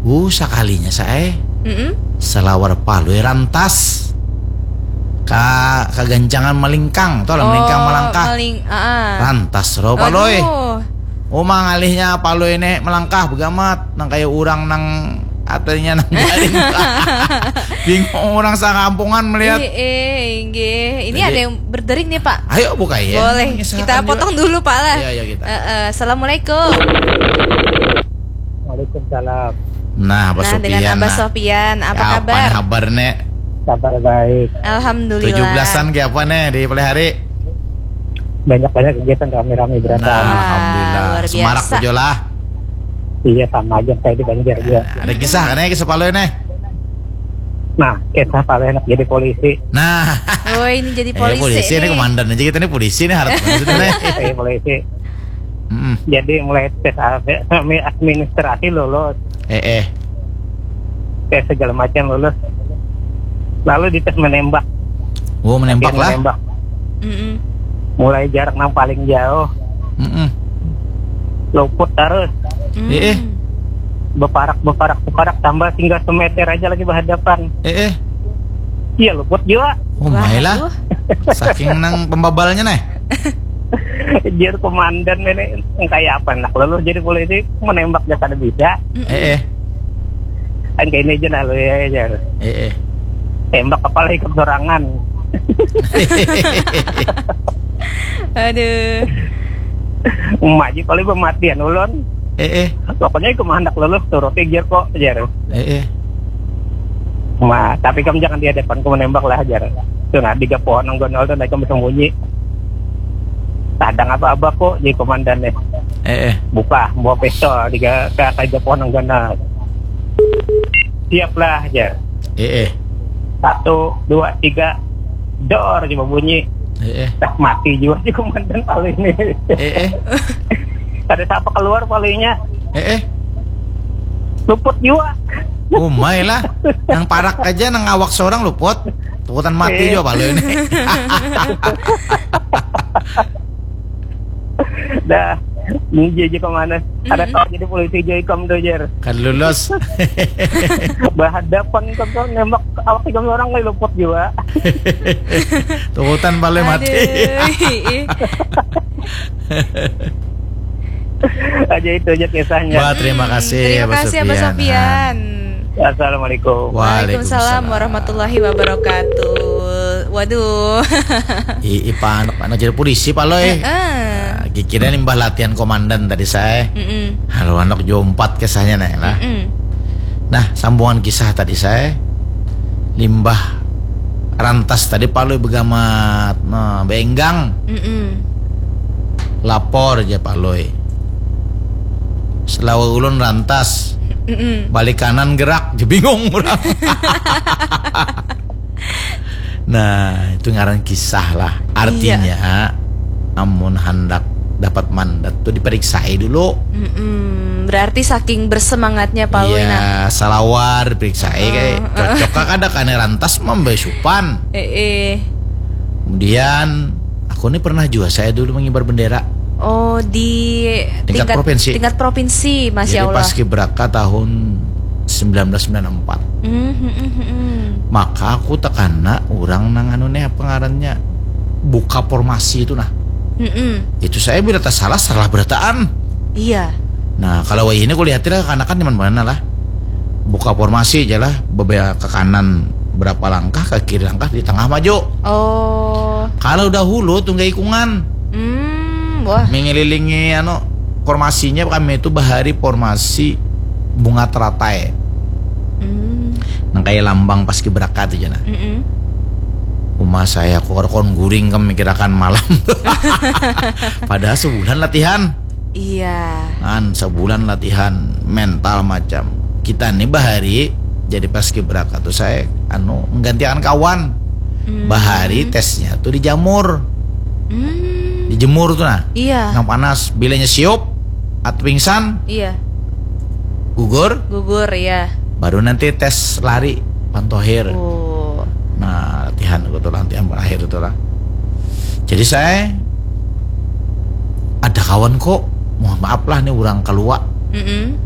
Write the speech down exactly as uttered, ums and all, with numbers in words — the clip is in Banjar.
Bu sakalinya sae. Mm-mm. Salawar palui rantas. Ka kagancangan malingkang, tuh lah, malingkang, oh, malangkah. Maling, ah. Rantas ro palui. Aduh. Oh, mangalihnya palui ini malangkah begamat nang kayak orang nang katanya nang garing. Bingung orang sakampungan melihat. Eh, eh, inggih. Ini jadi, ada yang berdering nih, Pak. Ayo buka ya. Boleh. Kita potong dulu, Pak lah. Iya, iya, kita. Eh, eh, assalamualaikum. Waalaikumsalam. Nah, Abah Sofian. Nah, dengan Abah Sofian, apa kabar? Kabar, Nek? Kabar baik. Alhamdulillah. Tujuh belasan kayak apa, Nek, di Palihari? Banyak-banyak kegiatan, rame-rame berasa. Nah, alhamdulillah. Wah, luar biasa. Semarak aja lah. Iya, sama aja kayak di Banjar juga. Nah, ada kisah kan ya, kisah palui, Nek? Nah, kisah palui anak jadi polisi. Nah. Oh, ini jadi polisi, eh, polisi ini nih. Komandan aja kita nih polisi nih, harap banget nih. Iya, polisi. Mm-mm. Jadi mulai tes administrasi lulus. Eh, eh. Tes segala macam lulus. Lalu dites menembak. Oh, menembak lah. Menembak. Mm-mm. Mulai jarak nang paling jauh. Mm-mm. Luput terus. Mm. Eh, eh. Beparak, beparak, beparak, tambah tinggal semeter aja lagi berhadapan. Eh, eh. Iya, luput juga. Oh, main lah. Saking nang pembabalnya nih. Jar komandan ini, kayak apa nak lulus jadi polisi, menembak aja kada bisa. Mm-mm. Eh, eh. Kan kayak ini aja nah lu ya, jar. Eh, eh. Tembak kepala ikut sorangan. Aduh. Maji paling pematian ulun. Eh, eh. Pokoknya ikut handak lulus, turuti jar kok, jar. Eh, eh. Ma, tapi kamu jangan di hadapanku menembak lah, jar. Tuh nah, tiga pohon nang ganal tuh, naik kamu sembunyi. Sadang apa abah kok jadi komandan nih. Eh, eh. Buka, bawa pistol, tiga, ke, ke tiga pohon nang ganal. Siap lah, jar. Eh, eh. Satu, dua, tiga, dor, coba bunyi. Eh, eh. Dah mati juga si komandan paling ini. Eh, eh. Ada siapa keluar palingnya? Eh, eh. Luput juga. Umai lah. Nang parak aja, nang awak seorang luput. Tukutan mati juga palu ini. Dah, ini aja kemana? Ada tahu jadi polisi aja ikam tuh, Jer. Kan lulus. Berhadapan ikam tuh nembak awak ikam orang kayak luput juga. Tukutan palu mati. Aduh, ih. Aja itu aja kisahnya. Wah, terima kasih, terima kasih, Abah Sofian. Assalamualaikum. Waalaikumsalam warahmatullahi wabarakatuh. Waduh. I, ipa anak, anak jadi polisi, Pak Loy. Heeh. Nah, kikirnya limbah latihan komandan tadi saya. Mm-mm. Halo, anak jompat kisahnya nih lah. Mm-mm. Nah, sambungan kisah tadi saya limbah rantas tadi Palui begamat, nah, benggang. Mm-mm. Lapor aja Palui. Selawa ulun rantas. Mm-mm. Balik kanan gerak, je bingung orang. Nah, itu ngaran kisah lah. Artinya, iya, amun handak dapat mandat tuh diperiksai dulu. Mm-mm. Berarti saking bersemangatnya Palui, iya, nah, salawar diperiksai, heeh, kayak cocok kah kada kena rantas mambasupan. Eh, eh. Kemudian aku nih pernah juga saya dulu mengibar bendera. Oh, di tingkat, tingkat provinsi. Tingkat provinsi, Masya Allah. Jadi pas Kibraka tahun sembilan belas sembilan empat. Mm, mm, mm, mm. Maka aku tekana orang nang anu nih apa ngarannya buka formasi itu nah. Mm-mm. Itu saya bila tak salah salah berataan. Iya. Nah, kalau wayah ini kulihat lah kekanakan nyaman mana lah. Buka formasi aja lah, bebea ke kanan berapa langkah, ke kiri langkah, di tengah maju. Oh. Kalau dahulu tunggai ikungan. Hmm, wah. Mengelilingi anu formasinya kami itu bahari formasi bunga teratai. Hmm. Nang kayak lambang pas kibraka tuh jana. Mm-mm. Rumah saya kor kon guring kami kirakan malam. Padahal sebulan latihan. Iya. Kan sebulan latihan mental macam. Kita nih bahari jadi pas kibraka tuh saya anu menggantikan kawan. Hmm. Bahari tesnya tuh dijamur. Hmm. Dijemur tuh nah. Iya. Nang panas, bilanya siup atau pingsan. Iya. Gugur. Gugur, iya. Baru nanti tes lari pantohir. Oh. Nah, latihan gitu lah, latihan berakhir itu lah. Jadi saya ada kawan kok, mohon maaf lah nih orang keluar. Mm-mm.